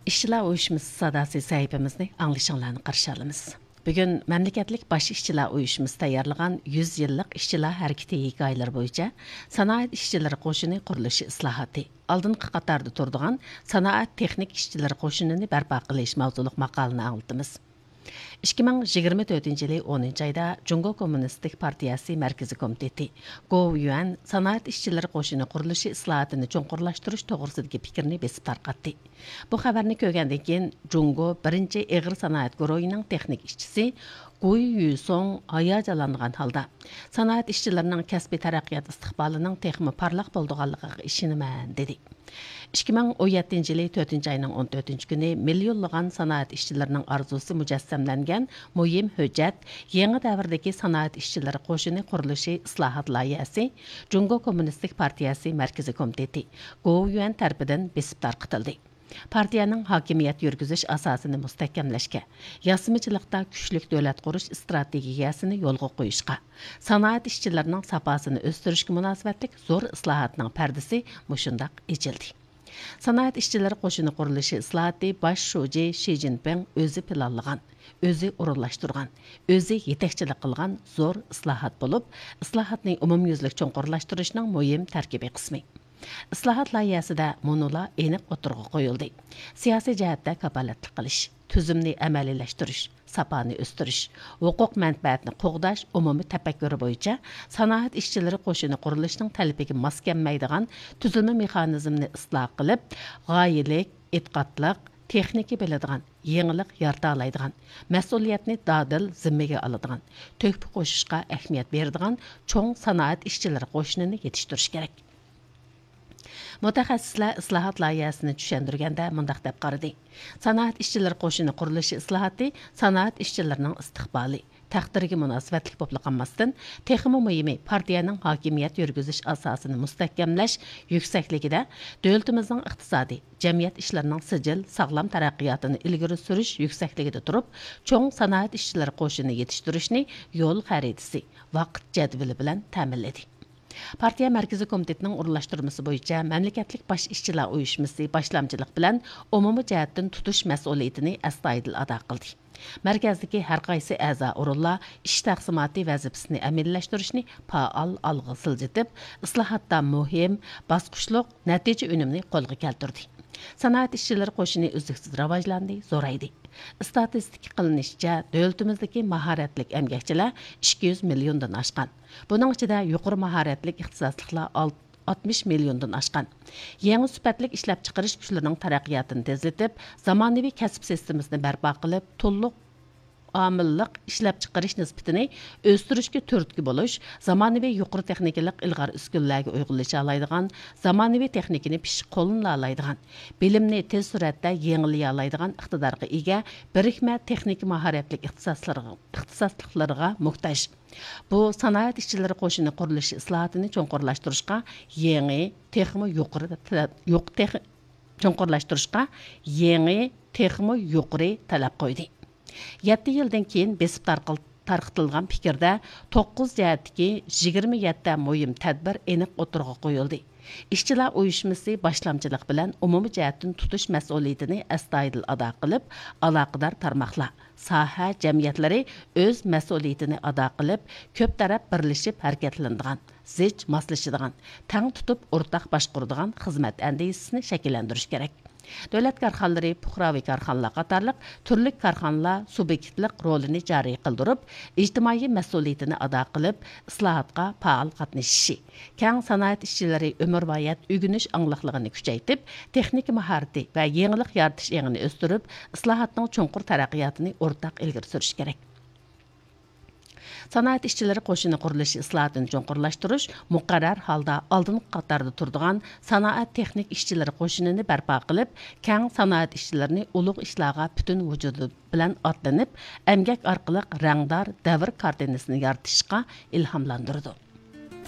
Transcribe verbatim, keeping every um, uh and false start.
ئىشچىلار ئۇيۇشمىسى ساداسى سەھىپىمىزنى ئاڭلىشىڭلارنى قارشى ئالىمىز. بۈگۈن مەملىكەتلىك باش ئىشچىلار ئۇيۇشمىسى تەييارلىغان يۈز يىللىق ئىشچىلار ھەرىكىتى ھېكايىلىرى بويىچە سانائەت ئىشچىلىرى قوشۇنى قۇرۇلۇشى ئىسلاھاتى، ئالدىنقى قاتاردا تۇرىدىغان سانائەت تېخنىك ئىشچىلىرى قوشۇنىنى بەرپا قىلىش ماۋزۇلۇق ماقالىنى ئاڭلىتىمىز. ئىككى مىڭ يىگىرمە تۆتىنچى يىلى ئونىنچى ئايدا جۇڭگو كوممۇنىستىك پارتىيەسى مەركىزىي كومىتېتى، گوۋۇيۈەن سانائەت ئىشچىلىرى قوشۇنى قۇرۇلۇشى ئىسلاھاتىنى چوڭقۇرلاشتۇرۇش توغرىسىدىكى پىكىرنى بېسىپ تارقاتتى. بۇ خەۋەرنى كۆرگەندىن كېيىن، جۇڭگو بىرىنچى ئېغىر سانائەت گۇرۇھىنىڭ تېخنىك ئىشچىسى گۇي يۈسۇڭ ھاياجانلانغان ھالدا، سانائەت ئىشچىلىرىنىڭ كەسپىي تەرەققىيات ئىستىقبالىنىڭ تېخىمۇ پارلاق بولىدىغانلىقىغا ئىشىنىمەن، دېدى. ئىككى مىڭ ئون يەتتىنچى يىلى تۆتىنچى ئاينىڭ ئون تۆتىنچى كۈنى مىليونلىغان سانائەت ئىشچىلىرىنىڭ ئارزۇسى مۇجەسسەملەنگەن مۇھىم ھۆججەت، يېڭى دەۋردىكى سانائەت ئىشچىلىرى قوشۇنى قۇرۇلۇشى ئىسلاھات لايىھەسى جۇڭگو كوممۇنىستىك پارتىيەسى مەركىزىي كومىتېتى، گوۋۇيۈەن تەرىپىدىن بېسىپ تارقىتىلدى. پارتىيەنىڭ ھاكىمىيەت يۈرگۈزۈش ئاساسىنى مۇستەھكەملەشكە، ياسىمىچىلىقتا كۈچلۈك دۆلەت قۇرۇش ئىستراتېگىيەسىنى يولغا قويۇشقا، سانائەت ئىشچىلىرىنىڭ ساپاسىنى ئۆستۈرۈشكە مۇناسىۋەتلىك زور ئىسلاھاتنىڭ پەردىسى مۇشۇنداق ئېچىلدى. سانائەت ئىشچىلىرى قوشۇنى قۇرۇلۇشى ئىسلاھاتى باش شۇجى شى جىنپىڭ ئۆزى پىلانلىغان، ئۆزى ئورۇنلاشتۇرغان، ئۆزى يېتەكچىلىك قىلغان زور ئىسلاھات بولۇپ، ئىسلاھاتنى ئومۇميۈزلۈك چوڭقۇرلاشتۇرۇشنىڭ مۇھىم تەركىبىي قىسمى. ئىسلاھات لايىھەسىدە مۇنۇلار ئېنىق ئوتتۇرىغا قويۇلدى: سىياسىي جەھەتتە كاپالەتلىك قىلىش، تۈزۈمنى ئەمەلىيلەشتۈرۈش، ساپانى ئۆستۈرۈش، ھوقۇق مەنپەئەتنى قوغداش ئومۇمىي تەپەككۇرى بويىچە سانائەت ئىشچىلىرى قوشۇنى قۇرۇلۇشىنىڭ تەلىپىگە ماس كەلمەيدىغان تۈزۈلمە مېخانىزمىنى ئىسلاھ قىلىپ، غايىلىك، ئېتىقادلىق، تېخنىكا بىلىدىغان، يېڭىلىق يارىتالايدىغان، مەسئۇلىيەتنى دادىل زىممىگە ئالىدىغان، تۆھپە قوشۇشقا ئەھمىيەت بېرىدىغان چوڭ سانائەت ئىشچىلىرى قوشۇنىنى يېتىشتۈرۈش كېرەك. مۇتەخەسسىسلەر ئىسلاھات لايىھەسىنى چۈشەندۈرگەندە مۇنداق دەپ قارىدى: سانائەت ئىشچىلىرى قوشۇنى قۇرۇلۇشى ئىسلاھاتى سانائەت ئىشچىلىرىنىڭ ئىستىقبالى، تەقدىرىگە مۇناسىۋەتلىك بولۇپلا قالماستىن، تېخىمۇ مۇھىمى، پارتىيەنىڭ ھاكىمىيەت يۈرگۈزۈش ئاساسىنى مۇستەھكەملەش يۈكسەكلىكىدە، دۆلىتىمىزنىڭ ئىقتىسادىي، جەمئىيەت ئىشلىرىنىڭ سىجىل، ساغلام تەرەققىياتىنى ئىلگىرى سۈرۈش يۈكسەكلىكىدە تۇرۇپ، چوڭ سانائەت ئىشچىلىرى قوشۇنى يېتىشتۈرۈشنى يول خەرىتىسى، ۋاقىت جەدۋىلى بىلەن تەمىنلىدى. پارتىيە مەركىزىي كومىتېتىنىڭ ئورۇنلاشتۇرمىسى بويىچە مەملىكەتلىك باش ئىشچىلار ئۇيۇشمىسى باشلامچىلىق بىلەن ئومۇمىي جەھەتتىن تۇتۇش مەسئۇلىيىتىنى ئەستايىدىل ئادا قىلدى. مەركەزدىكى ھەر قايسى ئەزا ئورۇنلار ئىش تەقسىماتى ۋەزىپىسىنى ئەمەلىيلەشتۈرۈشنى پائال ئالغا سىلجىتىپ، ئىسلاھاتتا مۇھىم، باسقۇچلۇق نەتىجە ئۈنۈمىنى قولغا كەلتۈردى. سانائەت ئىشچىلىرى قوشۇنى ئۈزلۈكسىز راۋاجلاندى، زورايدى. ئىستاتىستىكا قىلىنىشىچە، دۆلىتىمىزدىكى ماھارەتلىك ئەمگەكچىلەر ئىككى يۈز مىليوندىن ئاشقان. بۇنىڭ ئىچىدە يۇقىرى ماھارەتلىك ئىختىساسلىقلار ئالت-، ئاتمىش مىليوندىن ئاشقان. يېڭى سۈپەتلىك ئىشلەپچىقىرىش كۈچلىرىنىڭ تەرەققىياتىنى تېزلىتىپ، زامانىۋى كەسىپ سىستېمىسىنى بەرپا قىلىپ، تولۇق ئامىللىق ئىشلەپچىقىرىش نىسبىتىنى ئۆستۈرۈشكە تۈرتكە بولۇش، زامانىۋى يۇقىرى تېخنىكىلىق ئىلغار ئۈسكۈنىلەرگە ئۇيغۇنلىشالايدىغان، زامانىۋى تېخنىكىنى پىششىق قوللىنالايدىغان، بىلىمنى تېز سۈرئەتتە يېڭىلىيالايدىغان ئىقتىدارغا ئىگە بىرىكمە تېخنىكا ماھارەتلىك ئىختىساسلىرىغا، ئىختىساسلىقلىرىغا موھتاج. بۇ سانائەت ئىشچىلىرى قوشۇنى قۇرۇلۇشى ئىسلاھاتىنى چوڭقۇرلاشتۇرۇشقا يېڭى، تېخىمۇ يۇقىرى تەلەپ، يۇق-، تېخ-، چوڭقۇرلاشتۇرۇشقا يېڭى، تېخىمۇ يۇقىرى تەلەپ قويدى. يەتتە يىلدىن كېيىن بېسىپ تارقىل-، تارقىتىلغان پىكىردە توققۇز جەھەتتىكى يىگىرمە يەتتە مۇھىم تەدبىر ئېنىق ئوتتۇرىغا قويۇلدى. ئىشچىلار ئۇيۇشمىسى باشلامچىلىق بىلەن ئومۇمىي جەھەتتىن تۇتۇش مەسئۇلىيىتىنى ئەستايىدىل ئادا قىلىپ، ئالاقىدار تارماقلار، ساھە جەمئىيەتلىرى ئۆز مەسئۇلىيىتىنى ئادا قىلىپ، كۆپ تەرەپ بىرلىشىپ ھەرىكەتلىنىدىغان، زىچ ماسلىشىدىغان، تەڭ تۇتۇپ ئورتاق باشقۇرىدىغان خىزمەت ئەندىزىسىنى شەكىللەندۈرۈش كېرەك. دۆلەت كارخانىلىرى، پۇقراۋى كارخانىلار قاتارلىق تۈرلۈك كارخانىلار سۇبيېكتلىق رولىنى جارى قىلدۇرۇپ، ئىجتىمائىي مەسئۇلىيىتىنى ئادا قىلىپ، ئىسلاھاتقا پائال قاتنىشىشى، كەڭ سانائەت ئىشچىلىرى ئۆمۈرۋايەت ئۆگىنىش ئاڭلىقلىقىنى كۈچەيتىپ، تېخنىكا ماھارىتى ۋە يېڭىلىق يارىتىش ئېڭىنى ئۆستۈرۈپ، ئىسلاھاتنىڭ چوڭقۇر تەرەققىياتىنى ئورتاق ئىلگىرى سۈرۈش كېرەك. سانائەت ئىشچىلىرى قوشۇنى قۇرۇلۇشى ئىسلاھاتىنى چوڭقۇرلاشتۇرۇش، مۇقەررەر ھالدا ئالدىنقى قاتاردا تۇرىدىغان سانائەت تېخنىك ئىشچىلىرى قوشۇنىنى بەرپا قىلىپ، كەڭ سانائەت ئىشچىلىرىنى ئۇلۇغ ئىشلارغا پۈتۈن ۋۇجۇدى بىلەن ئاتلىنىپ، ئەمگەك ئارقىلىق رەڭدار دەۋر كارتىنىسىنى يارىتىشقا ئىلھاملاندۇرىدۇ.